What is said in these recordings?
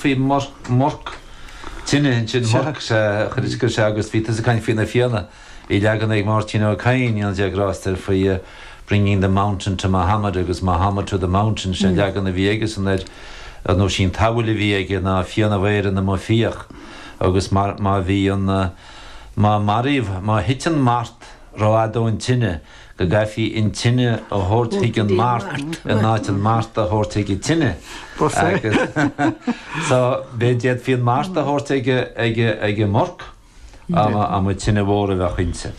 Faoi mhorc tine ansin, mhorc, sea, chuir go sea agus bhí tusa ag caint faoi na Fianna. Bhí leagan ag Máirtín Ó Cadhain, go ndéana Dia grásta air, faoi bringing the mountain to Mahomet agus Mahomet to the mountain, sin an leagan a bhí aigesan air, nó sí an tsamhail a bhí aige ná Fianna Éireann amuigh ag fiach agus má bhí an, má maraíodh, má thit an mart rófhada ón tine, go gcaithfí an tine a thabhairt chuig an mart in áit an mart a thabhairt chuig an tine. Agus so d'fhéadfaí an mart a thabhairt ag ag ag an morc dá mba tine mhór a bheadh inti.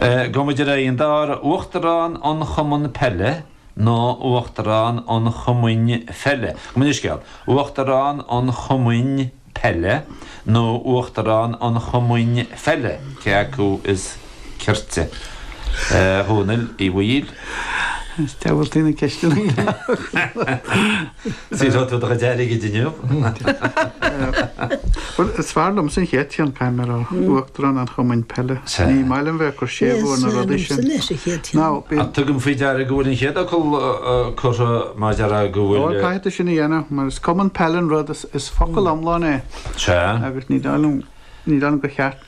Gabhfaidh muid ar aghaidh an dara Uachtarán an Chumann Peile nó Uachtarán an Chumainn Pheile. Gabh mo leithscéal. Uachtarán an Chumainn. Peile nó Uachtarán an Chumainn Pheile, cé acu is cirte? A Dhónaill Uí Bhaoill. Is diabhaltaí na ceisteanna. Saothróidh tú do chuid airgid inniu. Bhuel, is fearr liomsa an chéad cheann, caithfidh mé a rá, Uachtarán an Chumainn Peile. Ní maith liom bheith ag cur séimhiú ar na rudaí sin. Now, bíonn. Tugaim faoi deara go bhfuil an chéad fhocal curtha mar deara go bhfuil. Ó, caithfidh tú sin a dhéanamh, mar is cumann peile an rud, is focal iomlán é. Sea. Agus ní dóigh liom, ní dóigh liom gur cheart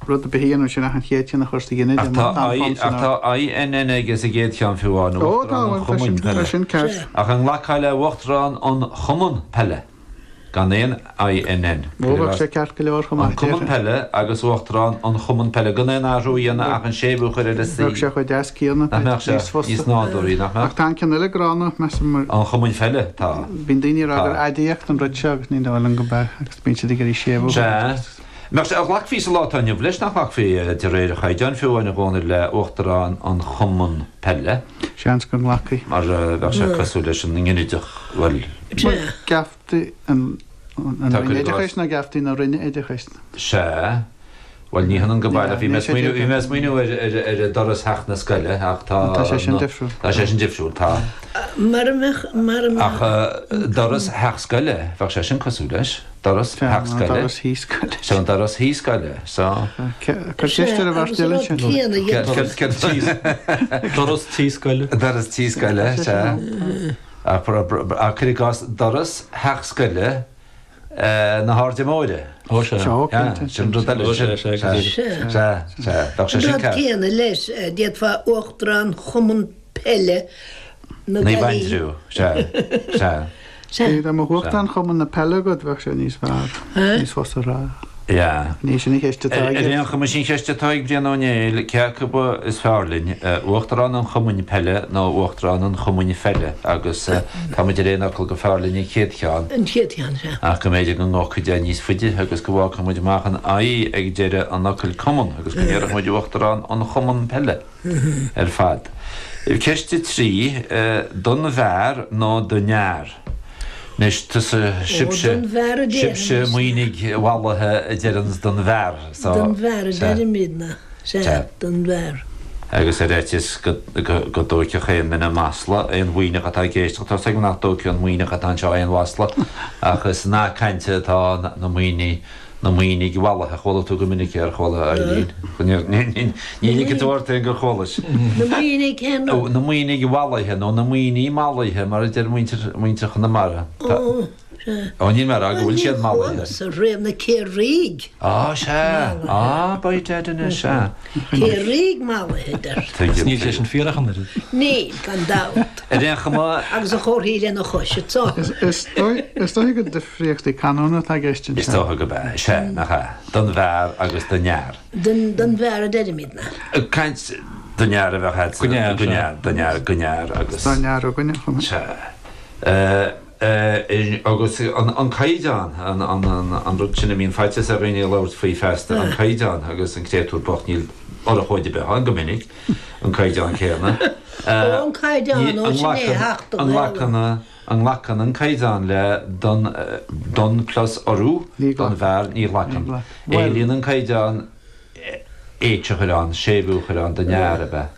rud ar bith a dhéanamh ansin ach an chéad cheann a chur sa ghinideach. Ach tá I, ach tá INN aige sa gcéad cheann fiú amháin, Uachtarán an Chumainn Peile. Tá sin ceart. Ach an nglacfá le Uachtarán an Chumann Peile? Gan aon INN. Ó, bheadh sé ceart go leor chomh maith. An Cumann Peile agus Uachtarán an Chumann Peile, gan aon athrú a dhéanamh ach an séimhiú a chur ar an C. Bheadh sé chomh deas céanna. Nach mbeadh sé? Níos fusa. Níos nádúraí, nach mbeadh? Ach tá an ceann eile gránna, measaim, mar. An Chumainn Pheile, tá. Bíonn daoine ag rá gur aidiacht an rud seo agus ní dóigh liom go mbeadh, agus bíonn siad ag iarraidh séimhiú. Sea. Mbeadh sé, ghlacfaí sa lá atá inniu leis, nach nglacfaí, de réir an chaighdeáin fiú amháin a Dhónaill, le Uachtarán an Chumann Peile? Seans go nglacfaí. Mar bheadh sé cosúil leis an nginideach, bhuel. Bhuel, geaftaí an Roinn Oideachais nó geaftaí na Roinne Oideachais? Sea. Bhuel, ní hionann go baileach. Bhí mé ag smaoineamh ar doras theach na scoile ach tá. Tá sé sin difriúil. Tá sé sin difriúil, tá. Mara mbeadh, mara mbeadh. Ach doras theach scoile, bheadh sé sin cosúil leis. Doras theach scoile. Doras thí scoile. Sea, an doras thí scoile. So. Cuir ceist ar an bheirt eile ansin. Doras tí scoile. Doras tí scoile, sea. Ach cuir i gcás doras theach scoile na hAirde Móire. Ó sea. Sea, cinnte. Sin rud eile. Ó sea, sea, go díreach. Sea. Sea, sea. Bheadh sé An sin rud ceart. céanna leis, d'fhéadfá Uachtarán Chumann Peile na Naomh Gaillimhe. Aindriú. Sea, sea. Sea. Dá mbeadh Uachtarán Chumann na Peile agat, bheadh sé níos fearr, níos fusa a rá. Yeah. Ní sin an cheist atá Ar aige. aon chuma, sin ceist atá ag Brian Ó Néill, cé acu is fearr linn, Uachtarán an Chumainn Peile nó Uachtarán an Chumainn Pheile agus tá muid ar aon fhocal gur fearr linn an chéad cheann. An chéad cheann, sea. Ach go mb'fhéidir go ngabhfaí é níos faide agus go bhfágfadh muid amach an I ag deireadh an fhocail Cumann agus go ndéarfadh muid Uachtarán an Chumann Peile. ar fad. Ceist 3, Don bhfear nó don fhear? Anois, tusa, sibhse, Ó, don bhfear a sibhse déarfaimis. Muimhnigh mhallaithe a deireanns don bhfear, so, Don bhfear a sea. deirimidne, sea, Sea. don bhfear. Agus ar fhaitíos go, go, go dtóigfeadh aon duine masla, aon Mhuimhneach atá ag éisteacht, tá's agam nach dtógfaidh an Muimhneach atá anseo aon mhasla, ach is nath cainte atá ann, na Muimhnigh, Na Muimhnigh mhallaithe, chuala tú go minic é, ar chuala, Eileen? Ní ligfidh tú ort féin gur chualais. Na Muimhnigh cén rud? Na Muimhnigh mhallaithe, nó na Muimhnigh mallaithe, mar a deir muintir, muintir Chonamara. Ó, sea. Ó, níl mé a rá go bhfuil siad Bhuel, mallaithe. ní chualas riamh na Ciarraígh Á, sea. mallaithe. Á, by dad anois, sea. Ciarraígh mallaithe, a deir. Tuigim, Níl sé tuigim. sin fíor ach an oiread. Níl, gan dabht. Ar aon chuma. Agus a chomharthaí lena chois, it's all. Is dóigh, is dóigh go Difríochtaí canúna atá i gceist Is anseo. dócha gurb ea. Sea, nach ea? Don bhfear agus don fhear. Don bhfear a deirimidne. Ag caint don fhear a bheadh agat. Don fhear, Don sea. fhear, don fhear, don fhear agus. Don fhear againne chomh maith. Sea. Agus an caighdeán, an rud sin a mbíonn faitíos ar dhaoine labhairt faoi feasta, an caighdeán agus an créatúr bocht, níl urchóid ar bith ann go minic, an caighdeán céanna. Ó, an caighdeán, ó, sin é a theacht An nglacann. An nglacann an caighdeán le don, don plus urú Ní don ghlacann. bhfear? Ní Ní ghlacann. ghlacann. Bhuel. Éilíonn an caighdeán H a chur ann, séimhiú a chur ann don fhear, ab ea?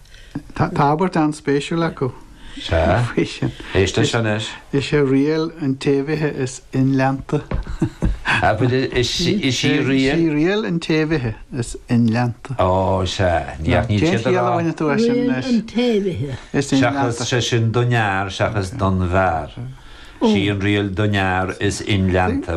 Tá tá abairt an-spéisiúil acu Sea. faoi sin. Éist leis seo anois. Is é riail an tséimhithe is inleanta. Abair, is í Is í riail. riail an tséimhithe is inleanta. Ó, sea. Ní ach níl Cén siad a chiall a rá. bhaineann tú as sin Riail anois? an tséimhithe. Is Seachas inleanta. sé sin don fhear seachas don bhfear. Sí an riail don fhear is inleanta.